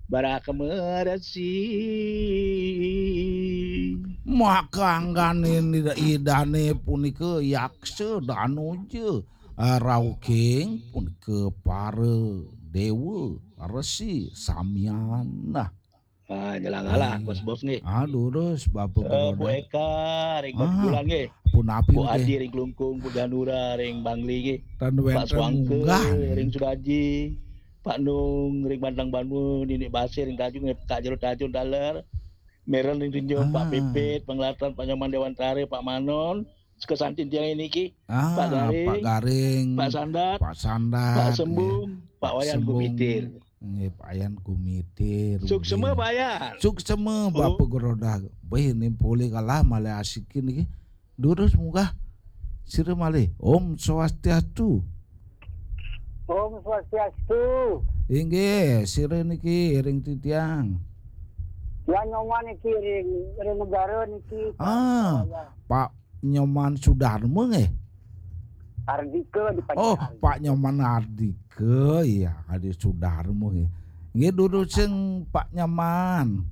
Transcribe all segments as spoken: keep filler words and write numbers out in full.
Baraka meresi. Maka anggane ida-idane punika yaksa danuja, ah, rauking punika para dewa, resi, samian. Nah. Ah, nyelang alah, Bos Bob nggih. Aduh, terus Bapak Eh, Bu Eka ring Batu Bulan nggih. Punapi Bu nggih? Adi ring Klungkung, Bu Janura ring Bangli nggih. Tan Pak wenten Swangke munggah nggih. Ring Sudaji, Pak Nung ring Bantang Banua, Nini Basir ring Tajung, Kak Jero Tajung taler, Meren ring Tinjung, Pak Ah. Pipit, Penglatan, Pak Nyoman Dewantara, Pak Manon, sekesantin tiang niki, Ah, Pak Garing, Pak Garing, Pak Sandat, Pak Sandat, Pak Sembung, nggih. Pak Pak Wayan Sembung, Gumitir. Nggih, Pak Wayan Gumitir, Suksema, nggih. Pak Wayan. Suksema, Oh. Bapak Gerodah. Wih, ini polih kalah malih asikin niki. Durus munggah. Sira malih. Om Swastiastu. Om Swastiastu. Inggih, sira niki ring titiang. Ya, Nyoman niki ring, ring negara niki, Pak. Ah, Pak Nyoman Sudarma nggih? Ardika di Pak Oh, Ardika. Pak Nyoman Ardika, iya, Adi Sudarma nggih. Nggih, durus sing Pak Nyoman.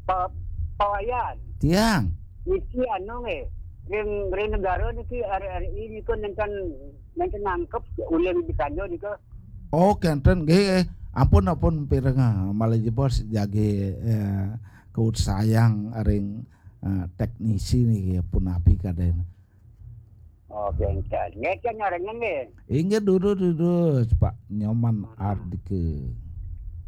Pak, Pak Wayan. Tiang. Niki anu nggih, ring, ring negara niki R R I niku nenten, nenten nangkep ulih di Kanjo niku. Oh, kenten nggih. Ampun, ampun, pireng, ah, malih jebos jagi, eh, kaut sayang ring, eh, teknisi niki, punapi kaden. Oh, kenten. Nggih, kan nyarengan nggih. Inggih, durus, durus, Pak Nyoman Ardika.